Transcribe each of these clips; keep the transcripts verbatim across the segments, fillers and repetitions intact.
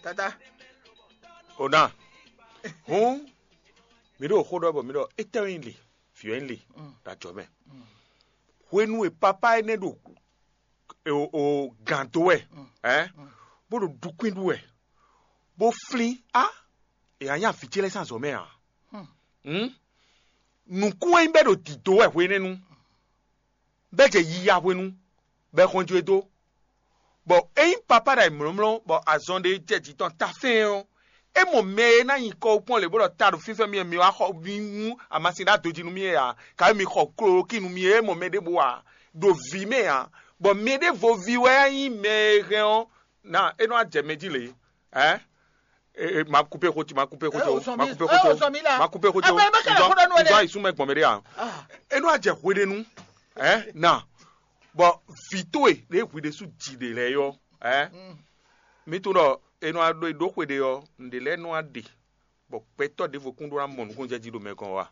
Tata. O ná. Hǔn, mi ɖo xó ɖɔ bɔ mi ɖɔ étɛ́ wɛ nyí li, vǐ wɛ nyí li ɖo ajɔ mɛ. Hwenu e papá énɛ́ ɖo o o gǎn dó wɛ, ɛ bó ɖo ɖukwín ɖu wɛ, bó flín á, è nǎ nya vǐ ce lɛ́ɛ sín azɔ̌ mɛ ǎ. Hǔn, nǔkún e nyí bɛ́ ɖo dǐdó wɛ hwenɛ́nu, bɛ́ jɛ yiya hwenu, bɔ è xɔn jó e dó. Bɔ ényí papá ɖo ayǐmlɔ́mlɔ́ bɔ azɔn ɖé jɛ jǐ tɔn ta fɛ́n ɔ́, é mɔ mɛ e ná nyi kɔ kpɔ́n lě bó ɖɔ ta ɖo fínfɛ́n mì wɛ mi wá xɔ mi nú amasin ɖó adojí nú mì é ǎ, kayi mi xɔ klolóki nú mì é, é mɔ mɛ ɖěbǔ ǎ, ɖo vǐ mɛ ǎ, bɔ mɛ ɖěvo ví wɛ nyí mɛ e hɛn ɔ́, na é nɔ wá jɛ mɛ jí lě. Ɛ? E, e, ma kupé xó ci, ma kupé xó ci, o, ma kupé xó ci, ma kupé xó ci, o. Nzɔ ayi súnmọ́ gbɔn mɛ ɖé a? É nɔ wá jɛ hweɖénu, ɛ? Na, bɔ vǐ towe ɖě hwi ɖésú ji ɖe lɛ́ɛ yɔ, ɛ? Mi tunwun ɖɔ è nɔ wá ɖó xwe ɖé ɔ́, nǔɖé lɛ́ɛ nɔ wá ɖe, bɔ gbɛtɔ́ ɖěvo kún ɖó ná mɔ nukúnnú jɛ jí ɖo mɛ gɔ́n wa.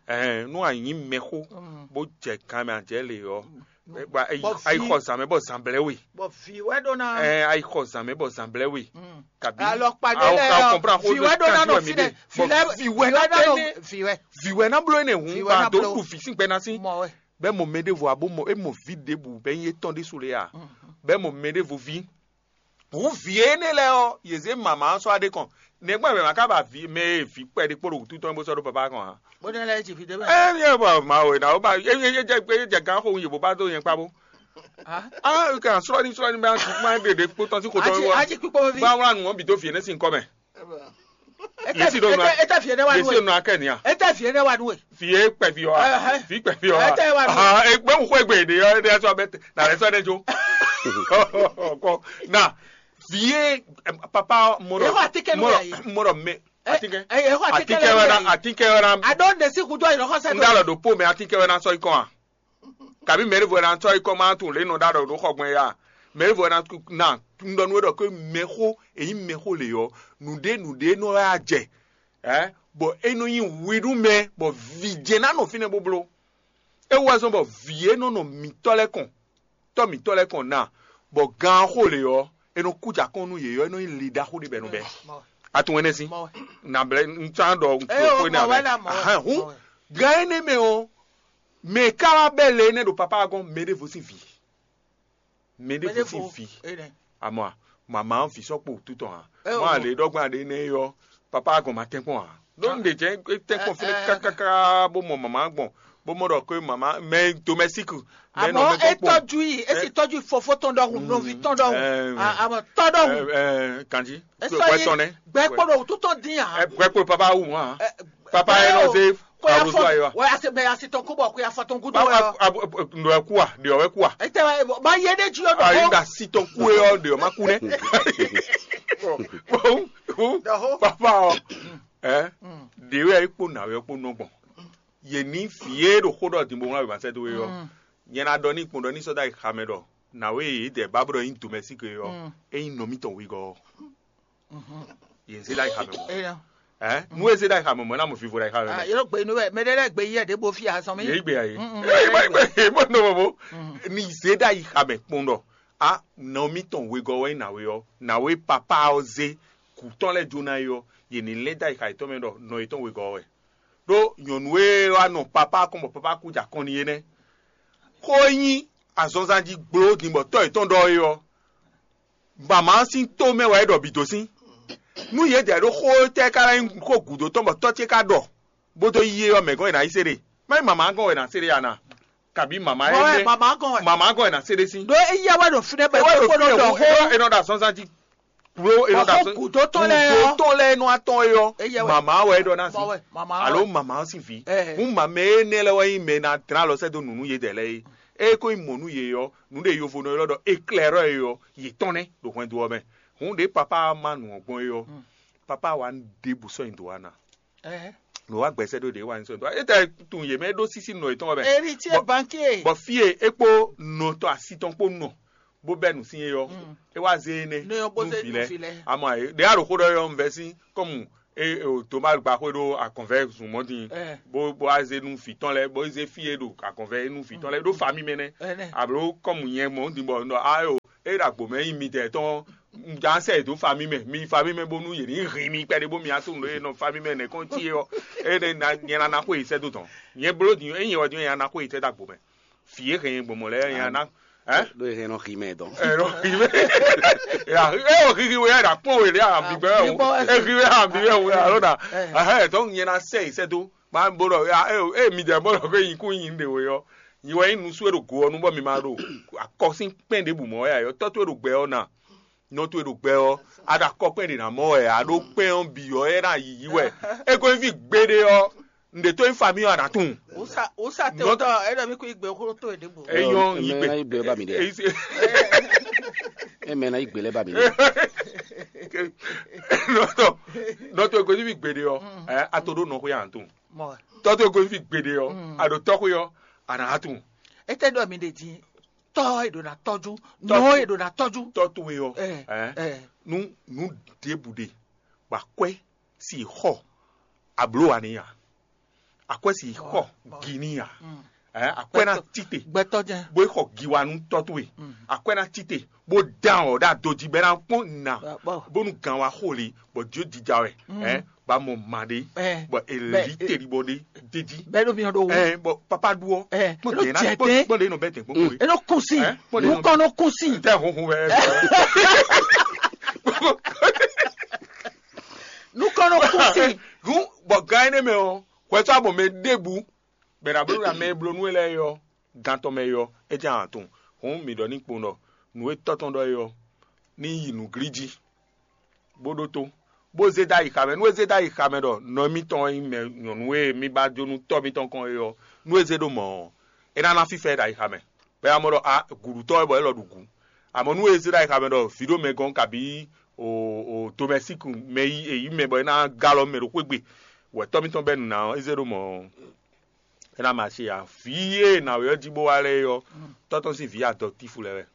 Ɛɛ, nú a nyǐ mɛxó, bó jɛ kan mɛ a jɛ lě ɔ́, a yi xɔ zǎn mɛ bɔ zǎn blɛ́ we. Bɔ vǐ wɛ ɖó ná. Ɛ, a yi xɔ zǎn mɛ bɔ zǎn blɛ́ we. Kabi alɔkpa ɖé lɛ ɔ, vǐ wɛ ɖó ná nɔ fínɛ. Vǐ lɛ vǐ wɛ ná bló énɛ́. Vǐ wɛ. Vǐ wɛ ná bló énɛ́ hǔn, ba dó ɖu vǐ sín gbɛ ná sín. Mɔ wɛ. Bɛ mɔ mɛ ɖěvo abo mɔ é mɔ vǐ ɖěbǔ bɛ nyí étɔn ɖésú lě a? Bɛ mɔ mɛ ɖěvo ví. Hǔn vǐ énɛ́ lɛ́ɛ ɔ́, yě zé mama ɔ́ sɔ́ aɖé kɔn. Nɛgbɛ́ mɛ ma ka ba vǐ mɛ e vǐ kpɛɖé kpó ɖo wǔtu tɔn bó sɔ́ ɖó papá kɔn ǎ. Bó ná lɛ́ ji vǐ ɖé mɛ. Ɛ ní ɛ bɔ ma o na o ba e e e jɛ gán xo yě bó ba dó yẹn kpá bó. Ah, kan sɔ́ ní sɔ́ ní bá má ɖe ɖe kpó tɔn sí xotɔ Aji wɔ. Aji kpíkpó mi. Bá wlá nù ɔ́ bǐ dó vǐ énɛ́ sín kɔ́ mɛ. Yě sì ɖo nɔ. Eta fi ene wa Yě sì ɖo nɔ akɛ nia. Eta fi ene wa nu e. Fi e kpɛ fi wa. Ɛhɛ. Fi kpɛ fi wa. Eta wa nu. Ah, e gbɛ ŋu xɔ egbe de yɔ de sɔ bɛ na lɛ sɔ ne jo. Kɔ na. Fi e papa mɔdɔ. Eho atike nu ya yi. Mɔdɔ mɛ. Atike. Eho atike Atike wɛ na. Atike wɛ na. Ado ne si kudo yi lɔkɔ sɛ. N da lɔ do po mɛ atike wɛ na sɔ ikɔn a. Kabi mɛɖevo ɛ na tsɔ yi kɔ ma tunwun lě nɔ ɖa ɖɔ ɖo xɔ gbɔn ya. Mɛɖevo ɛ na na un ɖɔ nú we ɖɔ ké mɛxó èyí mɛxó lě ɔ́, nǔɖé nǔɖé nɔ wɛ a jɛ. Ɛ bɔ é nɔ nyi hwi nú mɛ bɔ vǐ jɛ ná nɔ fínɛ́ bó bló. É wú wɛ zɔ́n bɔ vǐ e nɔ nɔ mǐtɔ́ lɛ́ɛ kɔn, tɔ́ mǐtɔ́ lɛ́ɛ kɔn na, bɔ gan xó lě ɔ́, é nɔ kú jɛ akɔn nú yě ɔ́, é nɔ nyi li ɖaxó ɖé bɛ́ nɔ bɛ́. A tunwun énɛ́ sín? Nǎ blɛ́ un tsán ɖɔ un kpo xó énɛ́ ǎ. Ahan hǔn gan énɛ́ mɛ ɔ́, mɛ e ka wá bɛ́ le énɛ́ ɖo papá ɔ́ gɔ́n mɛ ɖěvo sín vǐ. Mɛ ɖěvo sín vǐ. Amɔ a, mama ɔ́ vǐ sɔ́ kpo wútu tɔn ǎ. Mɔ a lě ɖɔgbán ɖé nɛ́ é ɔ́, papá ɔ́ gɔn ma tɛ́nkpɔ́n ǎ. Ɖó un ɖe jɛ é tɛ́nkpɔ́n fínɛ́ kákáká bó mɔ mama gbɔn, bó mɔ ɖɔ xwé mama mɛ domɛsík. Mɛ nɔ Àmọ́ mɛ é gbɔn kpɔn. Tọ́jú yìí, é sì tọ́jú fofó tɔn ɖɔhùn, nɔví tɔn ɖɔhùn. Àmọ́ tɔn ɖɔhùn. Kanji. Esɔ yi gbɛ kpɔɖɔ wútu tɔn dín yà. Gbɛ kpɔɖɔ papa wù hàn. Papa yẹn nɔ se kó yà fọ wà á se bẹ yà si tɔn kó bọ kó yà fọ tɔn gúdú wẹ. Ndo ẹ kú wa, ɖe ɔwɛ kú wa. Ètè ma yé ɖe jí o dɔ̀hó. Ayi da si tɔn kú yɛ ɔ ɖe ɔ ma kú nɛ. Papa ɔ ɛ ɖe wɛ kpó nà wɛ kpó nɔ gbɔn. Yě ní fǐ é ɖo xó ɖɔ dìbò ŋlá wɛ ma sɛ dó wɛ ɔ. Nyɛ na ɖɔ ní kpɔn ɖɔ ní sɔ́ dó ayi xamɛ ɖɔ nǎwe e yě dɛ bá bó ɖɔ nyí domɛsík e ɔ́, é nyí nɔ mítɔn wegɔ́ ɔ́. Yě zé ɖó ayi xamɛ mɔ̌. Ɛ nú é zé ɖó ayi xamɛ mɔ̌, é ná mɔ vivo ɖo ayi xamɛ mɛ. Yɔrɔ gbe inú wɛ mɛ ɖé lɛ́ɛ gbe yí ɛ ɖěbɔ fí azɔn mi. Yě gbe ayi. Mɔ nɔ mɔ ni zé ɖó ayi xamɛ kpɔn ɖɔ a nɔ mítɔn wegɔ́ wɛ nyí nǎwe ɔ́, nǎwe papa ɔ́ zé kǔ tɔn lɛ́ɛ jó ná é ɔ́, yě ní lɛ́ dó ayi xa yětɔn mɛ ɖɔ nɔ yětɔn wegɔ́ wɛ. Ɖó nyɔ̌nu e wá nɔ papa kɔn bɔ papa kú jɛ akɔn n'i é nɛ́. Xó e nyí azɔnzan jí gbló din bɔ tɔ́ yětɔn ɖɔ é ɔ́, mama ɔ́ sín tó mɛ wɛ é ɖɔ bǐ dó sín. Nú yědɛɛ ɖó xó tɛ́ ká ná nyí xó gǔdo tɔn bɔ tɔ́ ce ká ɖɔ, bó dó yí é ɔ́, mɛ̌ gɔ́n è nǎ yi se ɖe? Má nyí mama ɔ́ gɔ́n wɛ è nǎ se ɖe a na? Kabi mama ɛ Mɔ wɛ nɛ mama gɔn wɛ. Mama gɔn ɛ na se ɖe si. Ɖo eya wɛ ɖo fínɛ bɛ Ewɔ ɖo kpó ɖo fínɛ dɔ hu ewɔ hó. Enɔ ɖa sɔnzan ji. Kplo enɔ ɖa Bɔ sɔn. Kúdó tɔn lɛ ɔ. Kúdó tɔn lɛ enɔ atɔn eyɔ. Eya wɛ. Mama wɛ enɔ na si. Mɔ wɛ mama wɛ. Alo mama si vi. Ɛ. Hun mama ene lɛ wɛ yin mɛ na dra lɔ sɛ do nunu ye dɛ lɛ ye. E ko yin mɔ nu ye yɔ. Nu de yovo nɔ yɔ dɔ eklɛrɔ ye yɔ. Ye tɔn nɛ do hwɛn do ɔ mɛ. Hun de papa ma nu ɔ gbɔn ye yɔ. Papa wa de bu sɔ yin do wa na. Ɛhɛ. Nɔ wa gbɛsɛ ɖo ɖe wa ní sɔ dɔ etɛ tun yě mɛ ɖó sísí nɔ yětɔn wɛ mɛ. Héritier Bɔ- banquier. Bɔ fie e kpó nɔtɔ asi tɔn kpó nɔ bó bɛ nu sín yɔ. Mm. E wa zé ne Nɔ yɔ bó zé nu vi lɛ. Amɔ ayi ɖe aɖo xó ɖɔ yɔ nvɛ sín kɔmu e o to ma gba xó ɖo akɔnvɛ zun mɔ din. Ɛ. Bó bó a zé nu fi tɔn lɛ bó zé fie ɖo akɔnvɛ nu fi tɔn lɛ ɖó fa mi mɛ nɛ. Ɛnɛ. Alo kɔmu nyɛ mɔ din bɔ nɔ ayo e ɖo agbo mɛ yi mi tɛ tɔn Un jǎn sɛ yě dó famí mɛ, mi yi famí mɛ bónú yě ní hɛn mi kpɛɖé bó mi wá tunwun ɖó e nɔ famí mɛ nɛ̌ kɔn cí é ɔ́, é ɖe ná nyɛ ná ná xó yě sɛ́ dó tɔn. Nyɛ bló din é nyɛ wɛ din nyɛ ná ná xó yě sɛ́ dó agbo mɛ. Fǐ e hɛn nyɛ gbɔn mɔ̌ lɛ́ɛ nyɛ ná. Ɛ? Ɖó e hɛn nɔ xi mɛ dɔn. Ɛ nɔ xi mɛ. Ya, é o xixi wɛ ya ɖa kpɔn wɛ lɛ a bi gbɛ o. Bibɔ ɛ. E xi wɛ a bi wɛ o alo na. Ɛ. Ahɛ tɔn nyɛ ná sɛ yi sɛ dó. Ma bo ɖɔ ya e e mi dɛ bɔ ɖɔ ko yin kú yin ɖe o yɔ. Nyi wɛ yin nusu e ɖo go ɔ nu bɔ mi ma ɖo akɔsin kpɛn ɖe bu mɔ ya yɔ tɔtɔ e ɖo gbɛ ɔ na. Nɔ towe ɖo gbɛ ɔ́, a ɖo akɔ kpɛn ɖě ná mɔ wɛ, a ɖó kpɛn ɔ́ bǐ ɔ́, é ná yiyi wɛ. É ko nyí fí gbeɖé ɔ́, nǔɖé tó nyí famí ɔ́, a nǎ tunwun. Wǔsa wǔsa te Nɔ- wútɔ ɛ ɖɔ mí kú igbe xó tó e ɖěbǔ. É nyɔ́ Ɛ, yi mɛ gbe. Ná yí gbe ba mi ɖe. É yí se- É mɛ ná yí gbe lɛ ba mi ɖe. Nɔ tɔ nɔ tɔ ko nyí fí gbeɖé ɔ́, ɛ a to ɖó nɔ xó ya a nǎ tunwun. Mɔ Tɔ towe ko nyí fí gbeɖé ɔ́, a ɖo tɔ xó ɔ́, a nǎ tunwun. Étɛ́ ɖɔ mi ɖe din tɔ́ e ɖo ná tɔ́jú, Tɔ́ nɔ e ɖo ná tɔ́jú. Tɔ towe ɔ́, Ɛ, ɛ, ɛ. Nú nǔ ɖěbǔ ɖe, bɔ akwɛ́ si xɔ abló wa n'i a? Akwɛ́ si xɔ gi n'i a? Ɛ, akwɛ́ ná tite, Gbɛtɔ́ jɛn. Bó xɔ gi wa nú tɔ towe. Akwɛ́ ná tite, bó dán ɔ ɖo ado jí bɛ ná kpɔn nà, Bɔ- bónú gan wa xo li, bɔ jǒ jija wɛ. Ɛ, ba mɔ ma ɖé, Ɛ. Bɔ Bɛ- èlí tèlí bɔ ɖé dédí. Bɛ ɖo miɔ ɖo wo. Ɛ, bɔ papa ɖu ɔ. Ɛ, Kpɔn ɖe ná jɛ kpɔn dé. Kpɔn ɖe nɔ bɛ tɛn kpɔn kore. Eno kusi. Ɛ, kpɔn ɖe nɔ Nukɔnɔ kusi. Tɛ hunhun wɛ. Nukɔnɔ kusi. Hun bɔ gan ɛnɛ mɛ ɔ, hwɛtɔ abɔ mɛ ɖebu, bɛ na blo na mɛ e blo nú e lɛ yɔ, gan tɔn mɛ yɔ, é jɛ ahan tɔn. Hun mi ɖɔ ní kpɔn ɖɔ nǔ e tɔtɔn ɖɔ yɔ, ní yi nǔglí jí. Bó ɖótó, bó zé dó ayixa mɛ. Nú é zé dó ayixa mɛ ɖɔ nɔ émítɔn e nyí mɛ nyɔ̌nu e mí ba jó nú tɔ́ mítɔn kɔn é ɔ́, nú é zé ɖó mɔ̌ ɔ́, é ná ná fífá ɛ ɖo ayixa mɛ. Bɔ é ná mɔ ɖɔ a gǔɖutɔ́ wɛ bɔ é lɔ ɖu gǔ. Amɔ̌ nú é zé ɖo ayixa mɛ ɖɔ vǐ ɖo mɛ gɔ́n kabǐ o o domɛsíku mɛ yí e yí mɛ bɔ é ná gá alɔ mɛ ɖo xwé gbe, wɛ tɔ́ mítɔn bɛ́ nǔ ná ɔ́, é zé ɖó mɔ̌ ɔ́, é ná ma se ǎ. Vǐ e nǎwe ɔ́ jí bó wá lɛ́ɛ é ɔ́, tɔ́ tɔn sín vǐ adɔtífu lɛ́ɛ wɛ.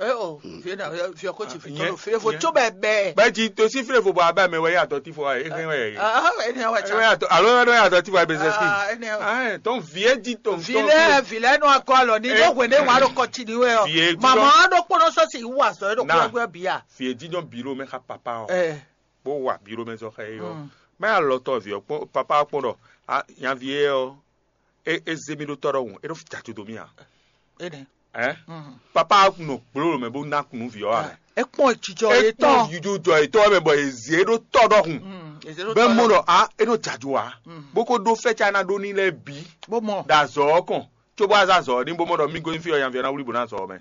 Eo, vie na vie ko tsi fi tɔlɔ fie fo tso bɛbɛ. Bɛ dzi to si fle fo bɔ abɛ mɛ wɛ ya dɔ ti fo ayi ehe wɛ yi. Ah, ene wa Ehe wɛ tsa. Ya dɔ alo wɛ ya dɔ ti fo ayi bezɛsi. Ah, ene wa. Ah, tɔn vie di tɔn. Vilɛ vilɛ nɔ akɔ alɔ ni do hwe ne wa do kɔ tsi ni wɛ ɔ. Vie di Mama do kpɔnɔ sɔsi wu azɔ do Na. Kpɔnɔ gbɛ bia. Vie di dɔn bilo mɛ xa papa o. Eh. Bo wa bilo mɛ zɔ xa yi o. Mm. Mɛ alɔ tɔ vie kpɔ papa kpɔ dɔ. Ah, yan vie o. E e ze mi ɖo tɔ ɖɔhun, e ɖo jajo dó mì a? Ene. Ɛ? Papa nɔ gbló mɛ bó ná kunu vǐ ɔ́ a mɛ? E kpɔn jijɔ E ye tɔn tɔn. Yuju jɔ etɔ́ mɛ bɔ e zi e ɖo tɔ ɖɔhun. Mm, eze ɖo Bɛ tɔ mɔ ɖɔ. Ɖɔ a e ɖo jajo a? Bó ko ɖó fɛ́ ca ná ɖó ní lɛ́ɛ bǐ. Bó mɔ. Ɖo azɔ ɔ́ kɔn, cóbó azɔ azɔ ɔ́ ní bó mɔ ɖɔ mí gosín fí ɔ́ nyaví ɔ́ ná wlí bó ná azɔ ɔ́ mɛ.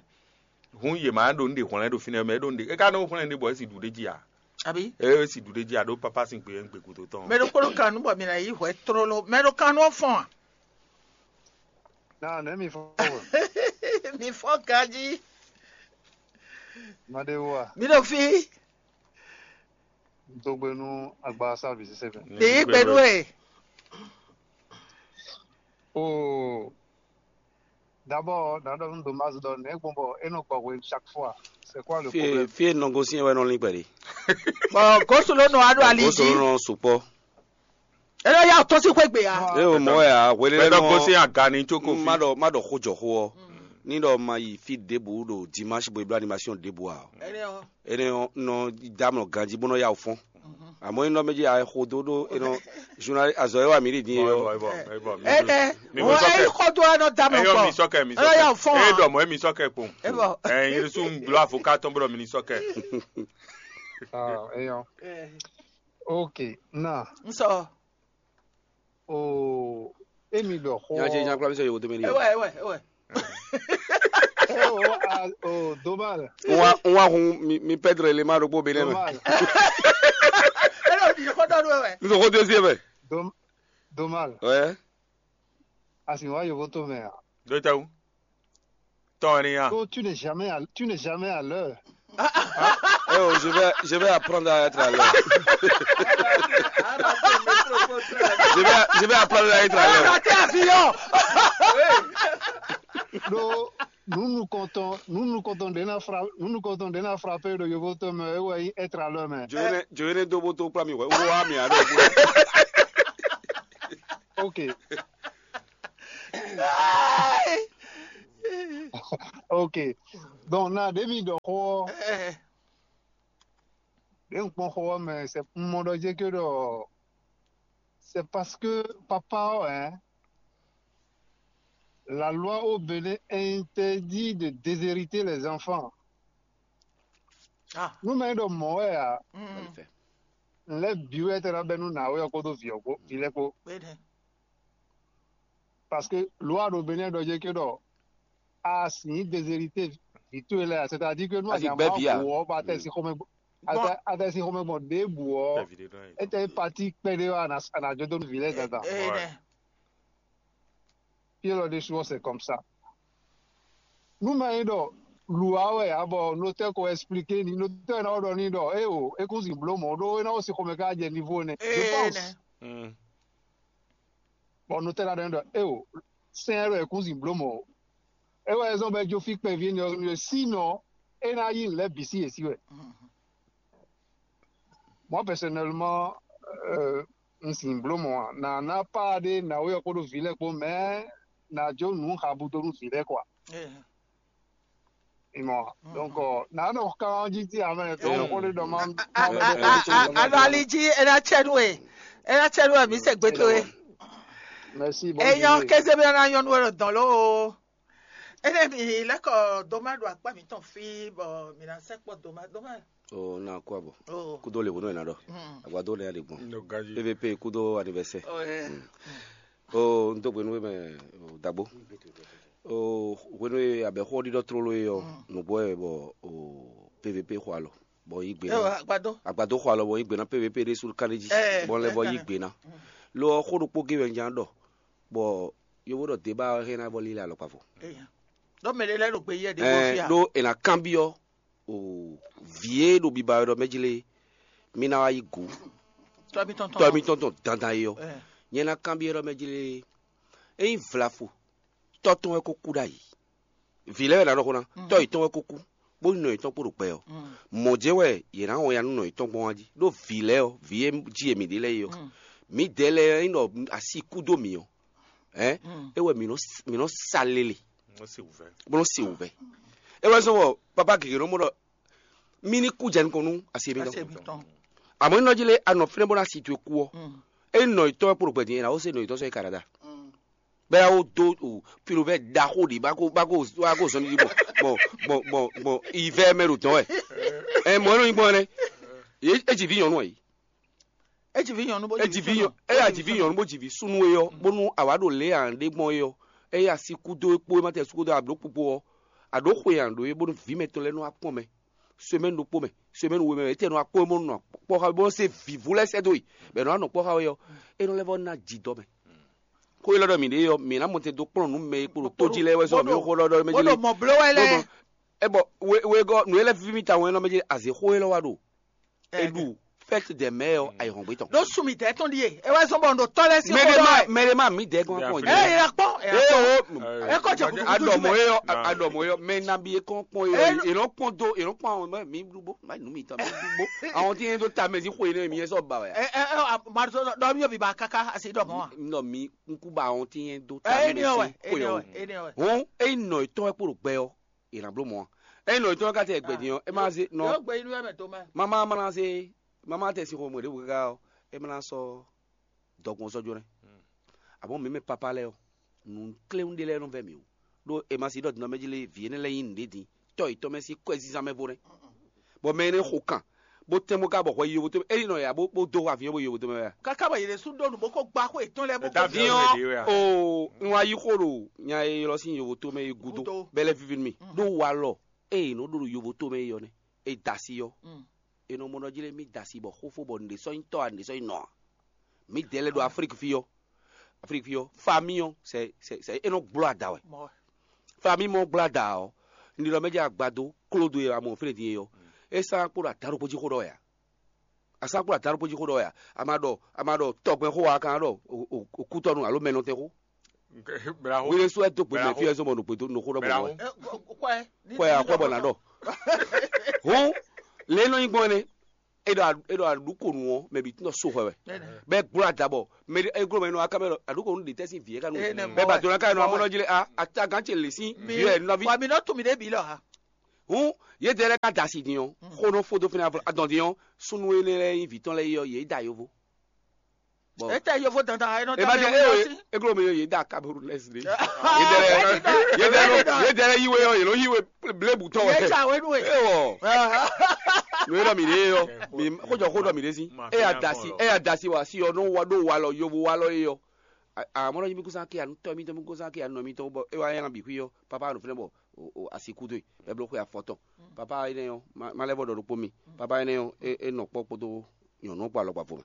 Hun yě má ɖo ní ɖe hwlɛ́n ɖo fínɛ́ mɛ, é ɖo ní ɖe é ka nɔ hwlɛ́n ɖe bɔ é si ɖu ɖé jí a? Abi. É si ɖu ɖé jí a ɖó papa sín gbe é gbe gúdo tɔn. Mɛ ɖokpó ɖo kan nú bɔ mi ná yí hwɛ tlóló. Mɛ ɖo kan nú ɔ́ fɔn a? Nah, let me forward. Mi fɔ ganji. Madewa, Mi ɖo fi. Dogbe nu agba service seven. Ɖe yí gbe ɖu ɛ. Oh, d'abord, dans un dommage donné, bon, bon, et non, quoi, oui, chaque fois. C'est quoi le Fie problème? Fie non gosi wɛ nɔ lin pɛdi. Bɔn gosu ló nɔ aɖo ali Gosi jí. Nɔ sukpɔ. Ena ya tɔ sí xwé gbe ya. E o mɔ ya wele Bɛtɔ lɔ. Gosi agani tsoko fi. Ma ɖɔ ma ɖɔ xó jɔ xó ɔ. Ni ɖɔ ma yi fi ɖěbǔ ɖo dimanche bo e bló animation ɖěbǔ a. Ene o. Ene ɔ nɔ damlɔ ganji bó nɔ ya fɔn. Àmọ́ iná méjì a xo dó ɖó enɔ journal azɔ yɛ wa mi ɖi din yɔ. Ene. Wọ́n ẹ kọ́ tó ẹnọ damlɔ Eyɔ kpɔ. Mi sɔkɛ mi Ena ya sɔkɛ. Fɔn. Eyɔ dɔ mɔ emi sɔkɛ kpɔn. Ebɔ. Ɛ yiri sun gblɔ avocat tɔn bɔ mi ni sɔkɛ. Ah, eyɔ. Ok, na. N sɔ. Oh, emi ɖɔ xɔ. Nya ce nya kpla mi sɔ yewo tome ni. Ewɛ ewɛ ewɛ. Oh, ah, oh, dommage. N wa n wa hun mi mi pɛdre le ma ɖokpó be nɛ mɛ. Dommage. Ena o di kɔ dɔ do ewɛ. N sɔ ko do sie mɛ. Dom dommage. Ouais. Asi wa yewo tome a. Dókítà wo. Tɔn ni ya. Oh, tu n'es jamais à, tu n'es jamais à l'heure. Eh oh, je vais, je vais apprendre à être à l'heure. Je vais, je vais apprendre à être à l'heure. Raté avion. Ɖo nunukɔntɔn nunukɔntɔn ɖe na fra nunukɔntɔn ɖe na frape ɖo yovo tɔn mɛ ewɔ yi être à l'heure mɛ. Joene joene do bo to kpla mi hwɛ wo wa mi alo. Ok. Ok. Donc na ɖe mi ɖɔ xɔ. ɖě un kpɔn xó ɔ́ mɛ, c'est un mɔ ɖɔ jé ké ɖɔ c'est parce que papa ɔ́, hein, la loi au Bénin interdit de déshériter les enfants. Ah, Nú mɛ ɖɔ mɔ̌ wɛ ǎ, mm, n lɛ́ bǐ wɛ tɛ ná bɛ́ nú nǎwe ɔ́ kpódó vǐ ɔ́ kpó vǐ lɛ́ɛ kpó. Bene. Parce que loi ɖo Bénin ɖɔ jé ké ɖɔ a sǐ déshérité vǐ towe lɛ́ɛ, c'est-à-dire que nú A sǐ a gbɛ́ nya vǐ ǎ. mɔ bu ɔ́, bɔ a tɛ sín xomɛ gbɔ, a tɛ- a tɛ sín xomɛ gbɔn ɖěbǔ ɔ́, é tɛ pati kpɛɖé ɔ́, a nǎ- a nǎ jó dó nú vǐ lɛ́ɛ dandan. Ene. Pied lɔ ɖésú ɔ́, c'est comme ça. Nú mɛ nyí ɖɔ lǔwá wɛ ǎ, bɔ notɛ́ ko expliqué ni, notɛ́ ná ɖɔ ní ɖɔ é o, é kún zin bló mɔ̌ ɖó é ná wó sin xomɛ ká jɛ niveau nɛ. Je pense. Ene. Bɔ notɛ́ ná ɖɔ ní ɖɔ é o, sɛn ɛ ɖɔ é kún zin bló mɔ̌. É wɛ zɔn bɔ é jó fí kpɛví énɛ́ ɔ́ nú é, sínɔ é ná yí nǔ lɛ́ɛ bǐ sí yě sí wɛ. Moi, personnellement, euh, un signe bló mɔ̌ ǎ. Nǎ ná pá ɖé nǎwe ɔ́ kpódó vǐ lɛ́ɛ kpó, mɛ ná jó nǔ habu dó nú vǐ lɛ́ɛ kɔa. Ene. Ìmọ̀. Donc, euh, nǎ nɔ kán jí tí a mɛ tó Eyɔ́. kó lè dɔn má. Ɛ- ɛ- Alo ali jí ena tsɛ nu e, ena tsɛ nu e mi se gbe to e. Merci. Bonne Eyɔn journée. Kézé bí ɔna nyɔnu e ɖo dɔn ló o. Ene mi lɛkɔ doma ɖo akpa mi tɔn fi bɔ mi na sɛ kpɔ doma doma. O na kó abɔ. O. Kúdó lè wònú ẹ̀ ná ɖɔ. Agbadó nɛ ɖe gbɔn. No gaji. P V P kúdó anniversaire. O ɛ. O n dó gbenu mɛ o dagbo. O hwenu e abɛxó ɖiɖɔ tlóló e ɔ́, nǔgbó wɛ bɔ o P V P xɔ alɔ bɔ yí gbe Ewa ná. agbadó. Agbadó xɔ alɔ bɔ yí gbe ná P V P ɖésú ká ɖé jí. Ɛ, Bɔ lɛ bɔ ɛ, yí ɛ. Gbe ná. Lo ɔ́ xó ɖokpó gé wɛ un ján ɖɔ bɔ yovo ɖɔ deba ɔ́ hɛn ná bɔ lílɛ alɔkpa fɔ. Eya. Dɔ mɛ ɖe lɛ ɖo gbe yɛ ɖe Ɛ bɔ fia. ɖó è nǎ kanbyɔ́ o vǐ e ɖo biba wɛ ɖɔ mɛ jí lé mí ná wá yí gǔ Tɔ mi tɔn tɔ tɔn. mi tɔn tɔn dandan e ɔ́. Ɛ. Nyɛ ná kanbyɔ́ ɖɔ mɛ jí lé ényí vlafo tɔ́ tɔn wɛ ko kú ɖ'ayǐ. Vǐ lɛ́ɛ wɛ ná ɖɔ xó ná tɔ́ yětɔn wɛ ko kú bó nɔ yětɔn kpo ɖo gbɛ ɔ́. Mɔ̌ jɛ́n wɛ yě ná wɔn ya nú nɔ yětɔn gbɔn wá jí ɖó vǐ lɛ́ɛ ɔ́, vǐ e jí e mǐ ɖe lɛ́ɛ é ɔ́. Mǐdɛɛ lɛ́ɛ ɔ́, ényí ɖɔ asi kú dó mǐ ɔ́, hɛn é wɛ mǐ nɔ s- mǐ nɔ sa lele Wọ́n sì wù fẹ́. bó nɔ se wǔvɛ́. É wɛ zɔ́n bɔ papa gěgé nɔ mɔ ɖɔ mí ní kú jɛ nukɔn nú asi mí Asi tɔn. mi tɔn. Àmọ́ nínú jí lé anɔ fínɛ́ bó ná si towe kú ɔ́, é nɔ ìtọ́ ɛ kpo ɖo gbɛ̀dín ɛ ná ó se nɔ ìtọ́ sɔ́ yi Canada. Bɛ́ yá wó dó o pilowɛ ɖaxó ɖě bá kó bá kó bá kó zɔn ní bɔ bɔ bɔ bɔ ìvẹ́ mɛ ɖo dɔn wɛ. Ɛ mɔ ɛnɔ nyí gbɔn ɛnɛ. Yé é jì ví nyɔnu ɛ. Eji vi nyɔnu bó É jì ví nyɔ é yà jì ví nyɔnu bó jì ví súnú é yɔ bónú àwa ɖo lě à ń ɖe gbɔn é yɔ. É yà sí kúdó é kpó é má tɛ sú kúdó àbló kpokpo ɔ. Àɖó xwe à ń ɖó é bónú ví mɛtɔn lɛ́ɛ nɔ wá kpɔn mɛ. Semaine ɖokpó mɛ, semaine we mɛ, é tɛ nɔ wá kpɔn é bónú nɔ kpɔ́ xa bónú se vǐvú lɛ́ɛ sɛ́ dó yi. Bɛ nɔ wá nɔ kpɔ́ xa é yɔ. É nɔ lɛ́ vɔ ná jì dɔ mɛ. Kó ilɔ ɖɔ mǐ ɖe yɔ mǐ ná mɔ tɛn dó kplɔ́n nú mɛ e kpo ɖo tó jí lɛ́ɛ wɛ zɔ mǐ xó ɖɔ ɖɔ mɛ Bó jí ɖo lé. Mɔ bló wɛ lɛ. É bɔ wegɔ nǔ e lɛ́ fífí mì tawun é nɔ mɛ jí azě xó élɔ́ wá ɖo. É ɖu fête des mères ɔ ayǐhɔ́ngbe tɔn. Ɖó sumi tɛ tɔn ɖíe. É wɛ zɔn bɔ ɖo tɔ lɛ sí Mɛ ɖé xó ma dɔ ɛ. mɛ ɖé ma mí dɛ gɔn kɔn Ɛ yà kpɔn. Ɛ yà kpɔn. o Ɛ kɔ jɛ kutu adɔmɔ mɛ. yɛ adɔmɔ yɛ mɛ nabi yɛ kɔn kpɔn yɛ Ɛ- yɛ lɔ kpɔn do yɛ lɔ kpɔn àwọn mɛ mi dugbo ma nu mi tɔ mi dugbo àwọn tí yẹn tó ta mɛ sí xo yẹn mi yẹn sɔ ba wɛ. Ɛ ɛ ɛ marisɔ dɔ mi yóò bí ba kaka asi dɔ mɔ wa. Nɔ mi nkú ba àwọn tí yẹn tó ta Ɛ mɛ eni ɔwɛ sí xo eni yẹn ɔwɛ o. Eni ɔwɛ. Hɔn eyi nɔ etɔn wɛ kpolo gbɛ ɔ yɛ na blo mɔ eyi nɔ etɔn wɛ ka tɛ gbɛ din ɔ e ma se nɔ Yóò gbé inú ẹ mẹ tó mẹ. mama mana se mama tɛ si xɔ mɔ ɖe wò kaka ɔ e mana sɔ dɔgbɔn sɔ jo nɛ àmọ́ mi mɛ papa lɛ ɔ nù kléwún ɖé lɛ nɔ vɛ mi o ɖó e ma si ɖɔ dinɔ mɛ jí lé vi énɛ́ lɛ nyí nǔɖé din tɔ yětɔn mɛ sín kɔ́ ɛ zínzán mɛ vo nɛ bɔ mɛ énɛ́ xo kan bó tɛ́n bó ka bɔ hwɛ yovo tó mɛ eyi nɔ ya bó bó dó avion bó yovo tó mɛ wɛ. Kaka bɔ yɛlɛ su dó nu bó kó gbá xó etɔn lɛ bó Ɛ ta kó avion Avion ɖe wɛ. o n wa yí xó ɖo nya e ylɔ sín yovo tó mɛ e gúdo Gúdo. bɛlɛ vivi mi ɖó wa lɔ eye nɔ ɖo ɖo yovo tó mɛ e yɔ nɛ e da si yɔ Mm. e nɔ mɔ nɔ jí lé mi da si bɔ xófó bɔ nɖe sɔ nyi tɔ a nɖe sɔ nyi nɔ a mi dɛ lɛ ɖo Afrik fi yɔ Afrik fi yɔ fami yɔ sɛ sɛ sɛ e nɔ gblɔ ada wɛ mɔ. fami mɔ gblɔ ada ɔ nɖi lɔ mɛ dzi agbado klodo yɛ amɔ fɛnɛ di yɛ yɔ e sa kpo ɖo ata ɖokpo jí xó ɖɔ ya a sa kpo ɖo ata ɖokpo jí xó ɖɔ ya a ma ɖɔ a ma ɖɔ tɔgbɛn xó wa kan ɖɔ o- o- okutɔnu alo mɛnɔtɛn xó Braho. wele so ɛ do gbe mɛ Braho. fi ɛ zɔmɔ no gbedo no xó ɖɔ mɔ Braho. wɛ Ɛ kɔɛ. kɔɛ a kɔɛ bɔ na ɖɔ hɔn le nɔ nyi gbɔn ne e ɖɔ a- e ɖɔ aɖukonu ɔ mɛ bi tún so xɔ wɛ bɛ gblɔ adabɔ mɛ e gblɔ mɛ nɔ akamɛ lɔ aɖukonu de tɛ si vie kanu Ene bɛ mɔ ba wɛ. dona ka nɔ Mɔ amɔ wɛ. nɔ jile a atagan ce le si vie nɔvi Wa mi nɔ tun mi ɖe bi lɔ ha. Hǔn yědɛɛ lɛ́ɛ ka da asi din ɔ́, xó nɔ fó dó fínɛ́ adɔn din ɔ́, súnnu énɛ́ lɛ́ɛ nyí vǐ tɔn lɛ́ɛ yi ɔ́, yě da yovo. Bɔ Étɛ́ yovo dandan e nɔ é dɔn ma mɛ jɛ wú éwe, lɔ sí? É gló mɛ yě da Camerounais ɖé. Yědɛɛ lɛ́ɛ yí we ɔ́, yě nɔ yí we blébǔ tɔn wɛ. Yě ja we nú we. Ewɔ. Nǔ e ɖɔ mǐ ɖe ɔ́, mǐ xójɔ xó ɖɔ mǐ ɖe sí. É ya da asi, é ya da asi wá asi ɔ́ nɔ wa ɖó walɔ yovo walɔ é ɔ́. Amɔ̌ nɔ nyi mí kúsán ké anu tɔ́ mítɔn mí kúsán ké anu nɔ mítɔn bɔ é wá nyá bǐ xwí ɔ́, papa ɖo fínɛ́ bɔ asi kú dó e, bɔ é bló xwe afɔtɔn. Papa énɛ́ ɔ́, má lɛ́ vɔ ɖɔ ɖokpó mi. Papa énɛ́ ɔ́, é nɔ kpɔ́ kpódó nyɔ̌nu ɔ́ kpó alɔgbavɔ mɛ.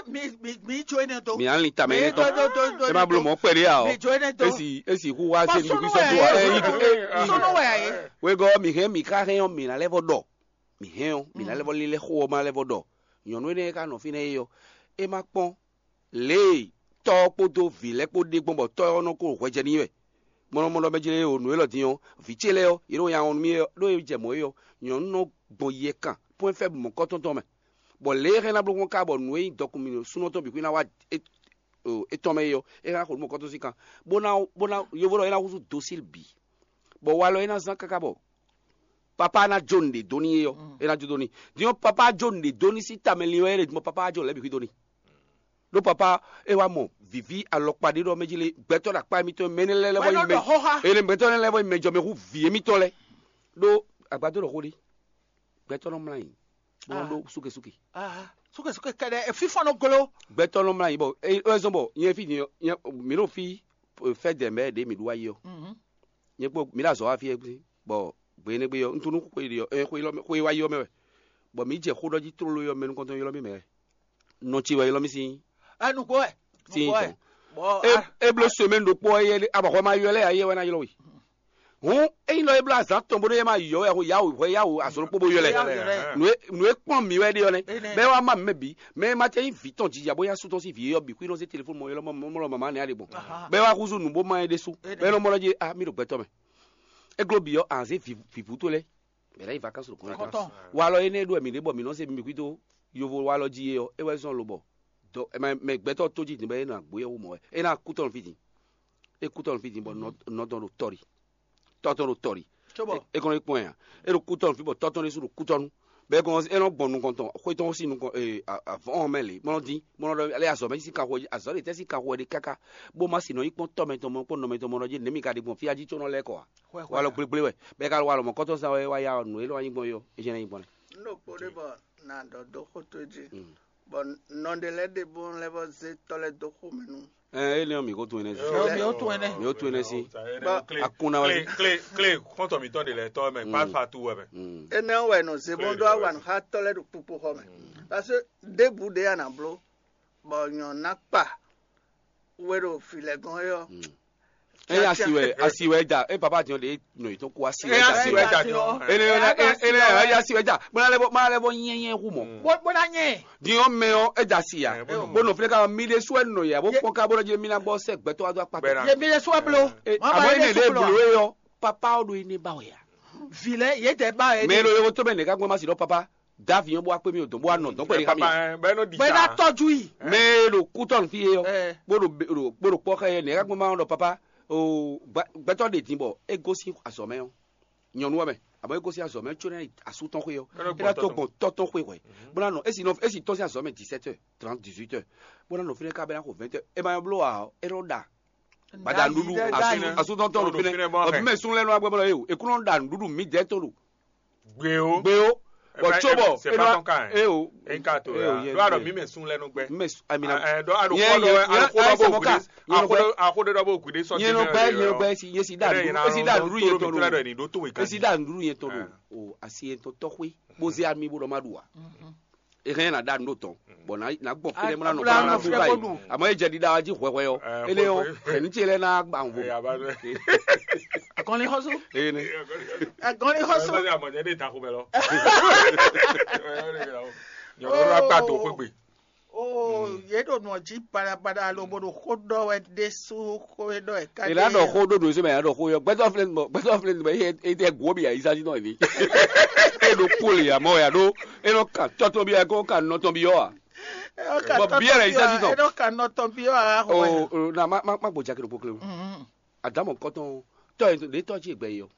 Mi mi mi tso énɛ́ dó. Mi alin tamɛ énɛ́ tɔn. É má bló mɔ̌ kpɛɖé ǎ ɔ́. Mi tso énɛ́ dó. Esi esi xú wá Bɔ se súnú nukú wɛ sɔ́ dó ɛ ǎ. Súnú wɛ ɛ. Wegɔ́ mi hɛn mi ká hɛn ɔ́, mi ná lɛ́ vɔ ɖɔ. Mi hɛn ɔ́, mi ná lɛ́ vɔ lílɛ́ xó ɔ́ má lɛ́ vɔ ɖɔ. Nyɔ̌nu énɛ́ e ka nɔ fínɛ́ é ɔ́, é má kpɔ́n lě e tɔ́ ɔ́ kpódó vǐ lɛ́ɛ kpó ɖe gbɔn bɔ tɔ́ ɔ́ nɔ ko hwɛjɛ n'i wɛ. Mɔnɔmɔnɔ mɛ jlé o nǔ élɔ́ din ɔ́, vǐ ce lɛ́ɛ ɔ́, yě nɔ nya wɔn nú mì é ɔ́, ɖó é jɛ mɔ̌ é ɔ́, nyɔ̌nu nɔ gbɔn yɛ kan pwɛ́n fɛ́ mɔ̌kɔ́tɔn tɔn mɛ. Bɔ lě e é hɛn ná bló gbɔn ká bɔ nǔ e nyí dɔkun mǐ súnɔ tɔn bǐ xwí ná wá é- o- étɔn mɛ é ɔ́, é hɛn ná xo nǔ mɔ̌kɔ́tɔn sín kan, bó ná bó ná yovo ɖɔ é ná húzú dosíl bǐ, bɔ walɔ é ná zán káká bɔ papá ná jó nǔɖé dó n'i é ɔ́, é ná jó dó n'i. Din ɔ́, papá jó nǔɖé dó n'i sín tamɛ lin wɛ é ɖe din bɔ papá wá jó nǔ lɛ́ɛ bǐ xwí dó n'i. Ɖó papá é wá mɔ vǐví alɔkpa ɖé ɖɔ mɛ jí lé gbɛtɔ́ ɖo akpá émítɔn mɛ énɛ́ lɛ́ɛ lɛ́ vɔ Wɛ nyi nɔ mɛ ɖɔ xó xá. Énɛ́ gbɛtɔ́ énɛ́ lɛ́ɛ vɔ nyi mɛ jɔmɛhú vǐ émítɔn lɛ́ɛ. Ɖó agbadó ɖɔ xó ɖé, gbɛtɔ́ nɔ mlá nyi, bó nɔ Ah. ɖó súkesúke. Ah, súkesúke kɛɖɛ fífɔ́n nɔ glo. Gbɛtɔ́ nɔ mlá nyi bɔ é é zɔ́n bɔ nyɛ fí din ɔ́, nyɛ mǐ ɖo fí fɛ́ dɛ̌ mɛ ɖě mǐ ɖu wá yi ɔ́. Mhm. Nyɛ kpó mǐ ɖo azɔ̌ wá fí é bɔ gbe énɛ́ gbe ɔ́, un tunú xwe ɖi ɔ́, ɛ, xwe élɔ́ mɛ- xwe wá yi ɔ́ mɛ wɛ. Bɔ mǐ jɛ xó ɖɔ jí tlóló ɔ́ mɛ nukɔntɔn ylɔ́ mì mɛ wɛ. Nɔ ce wɛ ylɔ́ mì sín Ɛ nukó wɛ. Sín Nukó wɛ. Tɔn. Bɔ É- ah, é bló semaine ɖokpó ɔ́, yɛ abɔxɔ ma ylɔ́ lɛ́ɛ ayé wɛ ná ylɔ́ we. Hǔn ényí lɔ é bló azǎn tɔn bó ɖé ma yɔ wɛ xo yawo hwɛ yawo azɔn ɖokpó bó ylɔ́ Yawo ɛ. ylɔ́ ɛ. Nǔ e nǔ e kpɔ́n mǐ wɛ ɖe ɔ́ nɛ́. Énɛ́. Bɛ́ wá má mǐ mɛ bǐ, mɛ e ma tɛ́ nyí vǐ tɔn jija bó nyá sú tɔn sín vǐ é ɔ́ bǐ xwí nɔ zé telefóni mɔ ylɔ́ mɔ mɔ mɔ mama nɛ́ ɖe gbɔn. Aha. Bɛ́ wá húzú nǔ bó má ɛ ɖésú. Énɛ́. Bɛ́ nɔ mɔ ɖɔ jí a mí ɖo gbɛtɔ́ mɛ. É gló bǐ ɔ́, a zé vǐ vǐvú tó lɛ́ɛ. Mɛ lɛ́ yi vacances ɖo kɔn Kɔntɔn. Walɔ énɛ́ ɖo wɛ mǐ ɖe bɔ mǐ nɔ zé mi xwí dó yovo walɔ jí é ɔ́, é wɛ zɔ́n lobɔ dɔ mɛ gbɛtɔ́ tó jí din bɔ é nɔ agbó yɛ wú mɔ̌ wɛ. É ná kú tɔn fí din. É kú tɔn fí din bɔ nɔ tɔn ɖo tɔ́ ɖi. Tɔ́ tɔn ɖo tɔ́ ɖi. Cóbɔ É kɔn é kpɔn ɛ ǎ. É ɖo kú tɔn fí bɔ tɔ́ tɔn ɖésú ɖo kú tɔn nu. Bɔ é kɔn é nɔ gbɔn nukɔn tɔn xwé tɔn sín nukɔn avɔ̌ ɔ́ mɛ lě mɔ́ dín mɔ́ nɔ ɖɔ alɛ azɔ̌ mɛ sín kanxɔ jí azɔ̌ ɖě tɛ́ sín kanxɔ ɖe káká bó má sin nɔ nyí kpɔ́n tɔ́ mɛ tɔn mɔ kpɔ́n nɔ mɛ tɔn mɔ ɖɔ jí nɛ̌ mi ka ɖe gbɔn fí a jí có nɔ lɛ́ kɔ ǎ. Hwɛ, hwɛ. Walɔ gblégblé wɛ. Bɔ é ka ɖo walɔ mɔ̌kɔtɔn zán wɛ wá ya ɔ́, nǔ élɔ́ wá nyí gbɔn é ɔ́, é jɛ́n ná nyí gbɔn nɛ́. Un ɖo kpo ɖé bɔ nǎ ɖɔ dó xó tó jí. Mm. Bɔ nɔ ɖé lɛ́ɛ ɖe bó lɛ́ vɔ zé tɔ́ lɛ́ɛ dó xó mɛ nú. Ɛ énɛ́ ɔ́, mǐ ko tunwun énɛ́ sí. Ɔ, mǐ ko tunwun énɛ́. Mǐ ko tunwun énɛ́ sí. Bɔ Akúnná wɛ. Klé klé klé xɔ́ntɔn mǐtɔn ɖe lɛ́ɛ tɔ́ mɛ Mm. Pálfatu wɛ mɛ. Mm. Énɛ́ ɔ́ wɛ nɔ zé bó Klé ɖó ɖɔ awa wɛ. Nǔ xá tɔ́ lɛ́ɛ ɖo kpukpo xɔ mɛ. Parce que ɖěbǔ ɖé a nǎ bló bɔ nyɔ̌nu ná kpa we ɖo vǐ lɛ́ɛ gɔ́n é ɔ́. Mm. Eye asi wɛ asi wɛ da e papa diɔ de nɔ yi tɔn ko asi wɛ Eye da asi wɛ da diɔ. Ene ene ene eye asi wɛ da. Mana lɛ bɔ mana lɛ bɔ nyɛ nyɛ hu mɔ. Bó bó ná nyɛ. Diɔ mɛ ɔ e da asi ya. Ɛ, bó nɔ. Bó nɔ file ka mi de su ɛ nɔ ya bó Ye- kpɔn ka bó nɔ dzi mi na bɔ sɛ gbɛtɔ wa do akpa. Bɛna. Ye mi de su ɛ blo. E Mama amo ye ene de de su blo. Blo ye yɔ papa o do ene ba wɛ ya. Vi lɛ ye tɛ ba yɛ. Mɛ lo ye ko to mɛ ne ka gbɔn ma si dɔ papa. Davi yɔn bó wá kpé mi o dɔn bó wá nɔ dɔn kpɛɖé ká mi. Bɛna tɔjú yi. Mɛ ɖo kútɔnu fí yé yɔ. Ɛ. Bó ɖo bó ɖo kpɔ́ xɛ yɛ nɛ̌ ká gbɔn ma ɖɔ papa o gbɛtɔ́ ɖe din bɔ é gosín azɔ̌ mɛ ɔ́ nyɔ̌nu ɔ́ mɛ abɔ é gosín azɔ̌ mɛ có ná yi asú tɔn xwé ɔ́ é ná tó gbɔn tɔ́ tɔn xwé hwɛ bó ná nɔ esi nɔ esi tɔ́ sín azɔ̌ mɛ dix-sept heures trente dix-huit heures bó ná nɔ fínɛ́ ká bɛ́ ná xo vingt heures é ma bló ǎ ɔ́ é nɔ ɖa gbada nuɖuɖu asú asú tɔn tɔn ɖo fínɛ́ ɔbí mɛ sún lɛ́ nɔ agbɛmɔ lɔ yé o é kún nɔ ɖa nuɖuɖu mǐdɛɛ tɔn ɖo Gbe o. Gbe o. Bɔ tso bɔ c'est pas ton cas, hein. E o. E ka to E o, ya. Yɛ Do alo gbe. Mi me sun lɛ nu gbɛ. Mi me sun, amina. Eh, do alo Yɛ, ko do yɛ, alo yɛ, ko do ayisa bo mɔ ka. Gbe. Yɛ Ako nɔ do gbɛ. Ako do do bo gbe so. Yɛ nɔ gbɛ, yɛ nɔ gbɛ si, yɛ si da Ere ndu, yɛ na yɛ si da ro ndu yɛ toro mi tɔn tura do. Ni do to we Esi kan. Da ndu yɛ tɔn do. Eh. O, asi yɛ tɔn tɔxwe. Bo ze ami bo dɔ ma du wa. E hɛn na da ndu tɔn. Bɔ na na gbɔ kele mɔ na nɔ Abla kɔnɔ na nɔ du fia ba ko yi. Du. Amɔ e jɛ di da wa ji hwɛhwɛ yɔ. Eh, Ele yɔ, hwɛhwɛ. Hɛn ni ce lɛ na gba wo. Eh, aba do. Akɔni xɔsu. Ene. Akɔni xɔsu. Aba do amɔ jɛ de ta ko bɛ lɔ. Nyɔnu la gba do xwegbe. Oh, ye ɖo nɔ dzi baɖabaɖa alo bo ɖo xó ɖɔ wɛ ɖésú xó e ɖɔ wɛ ká. Ela ɖɔ xó ɖo ɖo sɛmɛ ya ɖɔ xó yɔ gbɛtɔ filɛ nɔ gbɛtɔ filɛ nɔ ye e tɛ gwo bi ayi sasi nɔ ni. E ɖo kpoli ya mɔ ya ɖo e nɔ kan tɔtɔ bi ya ko kan nɔtɔ bi yɔ wa. Bɔ biɛ la yi sasi nɔ. E ɖo kan nɔtɔ bi yɔ a xɔ wɛ. O na ma ma ma gbɔ jakɛ ɖo kpokle o. Adamɔ kɔtɔn tɔ ye ɖe tɔ ci gbɛ yi yɔ.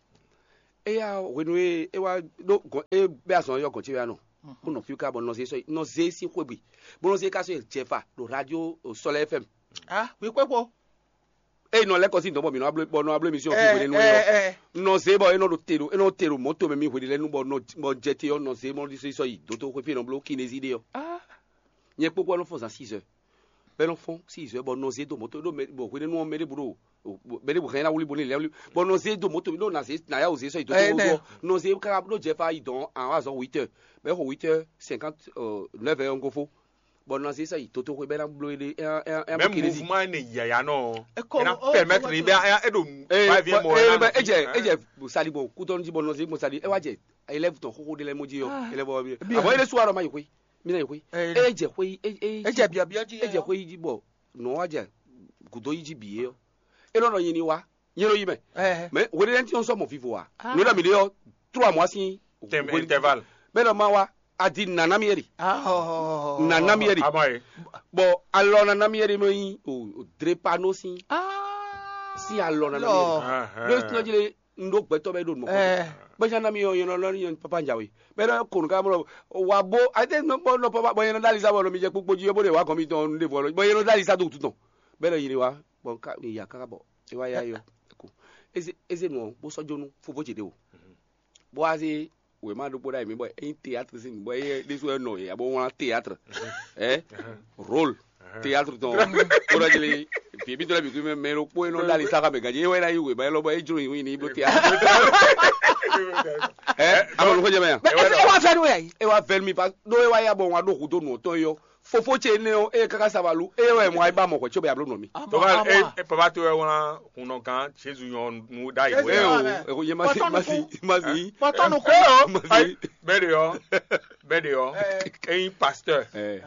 Éya hwenu e é wá ɖó gɔn é bɛ́ azɔn yɔ gɔn ce wɛ anɔ. Kó nɔ fí ká bɔ nɔ zé sɔ nɔ zé sín xwé gbe, bó nɔ zé ká sɔ jɛfa ɖo radio Sɔlɛ F M. Ah, wí kpékpo. Eye nɔ lɛ́ kɔ sín dɔn bɔ mǐ nɔ bɔ nɔ ablo émission fi hwenu nɔ zé bɔ é nɔ ɖo te ɖo é nɔ te ɖo mɔto mɛ mi hwenu lɛ́ɛ nu bɔ nɔ bɔ jɛ te ɔ́ nɔ zé mɔ ɖi sɔ yi dótó xwé fi nɔ bló kinézi ɖe ɔ́. Nyɛ kpókpó ɔ́ nɔ fɔ́n zan six heures. Bɔ é nɔ fɔ́n six heures bɔ nɔ zé dó mɔto ɖó mɛ bɔ hwenu ɔ́ mɛ ɖěbǔ ɖo mɛ ɖěbǔ hɛn ná wlí bo ní lɛ́ wlí bɔ nɔ zé dó mɔto mi ɖó nà zé nà yá wò zé sɔ yi dótó wútu ɔ́ nɔ zé káká ɖó jɛ fa yi dɔn àwọn azɔn huit heures bɔ é xo huit heures cinquante neuf heures ɔ́ gofó. Bɔ nɔ zé sɔ yi dótó xwé bɔ é ná bló é ɖe é ná é ná Même bló kinézi. Mouvement ne yaya nɔ. Eko- Ena o- permettre o- ni bɛ e ɖo Eh, va vie bɔ- mɔ eh, ena bɛ- edze edze sali bɔ kutɔnu ji bɔ nɔ zé bɔ sali e wa jɛ élève tɔn xoxo de lɛ mo ji yɔ Ah. Élève wa bi Bien. Abo ele suwa dɔ ma yi xwe mi na yi xwe Eh, edze xwe e e Edze biabiɔ ji edze xwe yi ji bɔ nɔ wa jɛ gudo yi ji bi ye yɔ e nɔ nɔ yi ni wa yi nɔ yi mɛ Eh. Mais wele lɛ ti sɔ mɔ vivo wa Ah. No da mi de yɔ trois mois si Tem intervalle. Bɛ dɔ ma wa a di nana mi yɛ di Ah, oh, oh, oh, oh, nana mi yɛ di Ama ye. Bɔn alɔ nana mi yɛ di nɔ yi o o drepano si Ah. Si alɔ nana mi yɛ Lɔ. di Ah, ah. Ɖo sinɔ dzi le n ɖo gbɛtɔ bɛ ɖo nɔ Eh. Gbɛsɛ nana mi yɔ yɔnɔ lɔ ni yɔn papa njawe bɛ dɔ konu ka mɔ wa bo a te nɔ bɔ nɔ papa bɔ yɛn nɔ dali sa bɔ nɔ mi jɛ kpokpo ji yɔ bo de wa gɔn mi tɔn nu de vɔ lɔ bɔ yɛn nɔ dali sa do tu tɔn bɛ dɔ yi de wa bɔn ka mi ya kaka bɔ e wa ya yɔ ko eze eze nɔ bó sɔ jonu fofo ce de o bó wa se wema ɖokpó ɖ'ayǐ mɛ bɔ eyin théâtre sin bɔ eye ɖésú wɛ nɔ yě abo wlán théâtre ɛ rôle théâtre tɔn kódɔ jeli fìyè bí tɔlɛ bìkú mɛ mɛ ɖokpó e nɔ ɖ'ali sáxa mɛ ganji ewɛ ná yi wema yɛ lɔ bɔ e jlo yi ní bló théâtre ɛ amɔ nukó jɛ mɛ yan Ẹ wá fẹ́ nú ẹ̀ yìí. E wa vɛn mi pa ɖó e wa ya bɔ wọn ɖo hudo nù tɔn yɔ fofo ce ne o e kaka savalu e wɛ mɔ ayi ba mɔ hwɛ tso bɛ alo nɔ mi. Àmọ́, Papa, àmọ́. E, e, papa to wɛ wlán hunnɔ gán Jésus nyɔ nu ɖ'ayǐ Jésus wɛ. Nyɔ. E o, e ko ye ma si Pɔtɔ ma si nukun. Ma si. Pɔtɔ nukun. Ma si. Bɛɛ de yɔ, bɛɛ de yɔ. Eyin pasteur. Eh.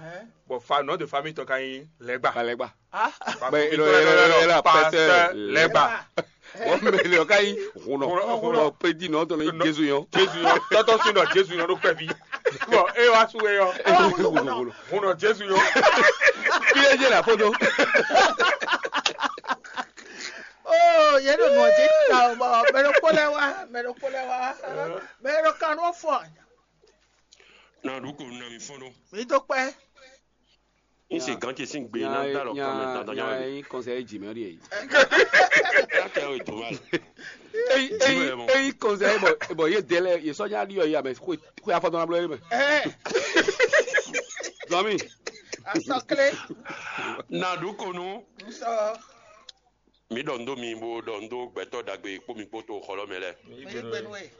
Bon, fa nom de famille tɔ ka yin Lɛgba. Alɛgba. Ah. Bɛ ilo ilo ilo ilo pasteur Lɛgba. Wọ́n mɛ lè ɔ̀ká yín hùnà Hùnà, hùnà. Bɔ pédi nɔ tɔn ní Jésus yɔn. Jésus yɔn tɔtɔ sí nɔ Jésus yɔn ló pẹ́ bí. Bɔn e wá sú e yɔ. Hùnà Jésus yɔn. Bí ẹ jẹ́ là fọ́jọ́. Oh, yẹn ló nù ọtí ta o bọ mẹlẹ kpó lẹ wá mẹlẹ kpó lẹ wá mẹlẹ kanu fọ. Na ɖu ko na mi fɔn ɖo. Mi dó pẹ́. N se gan ce sín gbe ná dá lɔ kán mɛ dandan nya nya wɛ. Yín kɔnsɛ jì mɛ rí èyí. Yá kẹ́ o ìtò máa. Eyi eyi eyi kɔnsɛ bɔ bɔ yé délɛ yé sɔnya ɖi yɔ yé amɛ xwe xwe afɔtɔn na blɔ yé mɛ. Ẹ Zɔmi. Asɔkle. Na ɖu ko nu. Nsɔ. Mi ɖɔ ndo mi bo ɖɔ ndo gbɛtɔ ɖagbe kpó mi kpó to xɔlɔ mɛ lɛ. Mi gbenu e.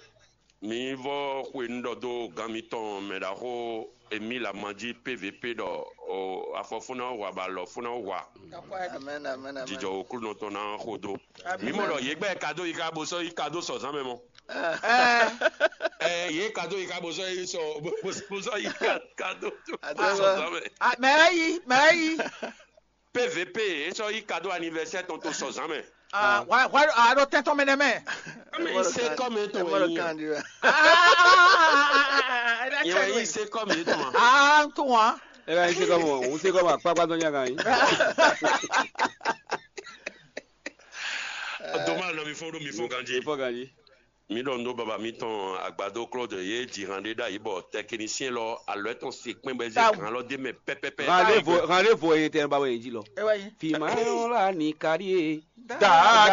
Mi vɔ xwe nu ɖɔ do gan mitɔn mɛ ɖaxó Emile Amanji P V P ɖɔ o afɔ fún ná wa ba lɔ fún ná wa. Amen, amen, amen. Jijɔ oklunɔ tɔn ná xo do. Amen. Mi mɔ ɖɔ yé gbɛ kado yi ka bo sɔ yi kado sɔ zan mɛ mɔ. Ɛ Ɛ yé kado yi ka bo sɔ yi sɔ bo sɔ yi kado. Ado Sɔ sɔ. Zan mɛ. Ah, mɛ yi, mɛ yi. P V P, e sɔ yi cadeau anniversaire tɔn to sɔ zan mɛ. Ah, why why I don't tell me name. Ame yi se kɔmi etɔn wɛ yi. Yɛ wɛ yi se kɔmi etɔn. Ah, to wa. E ka yi se kɔmi o, o se kɔmi akpakpa dɔn nya kan yi. Doma nɔ mi fɔ ɖo mi fɔ ganji. Fɔ ganji. Mi ɖɔ nú baba mitɔn agbadó Claude yé ji han ɖé ɖ'ayǐ bɔ tɛkinisíɛn lɔ alɔ tɔn se kpɛn bɔ é zé han lɔ d'é mɛ pɛpɛpɛ. Rendez-vous rendez-vous e tɛ ba wɛ yin ji lɔ. Fi ma yɔ la ni kari e. Daa ke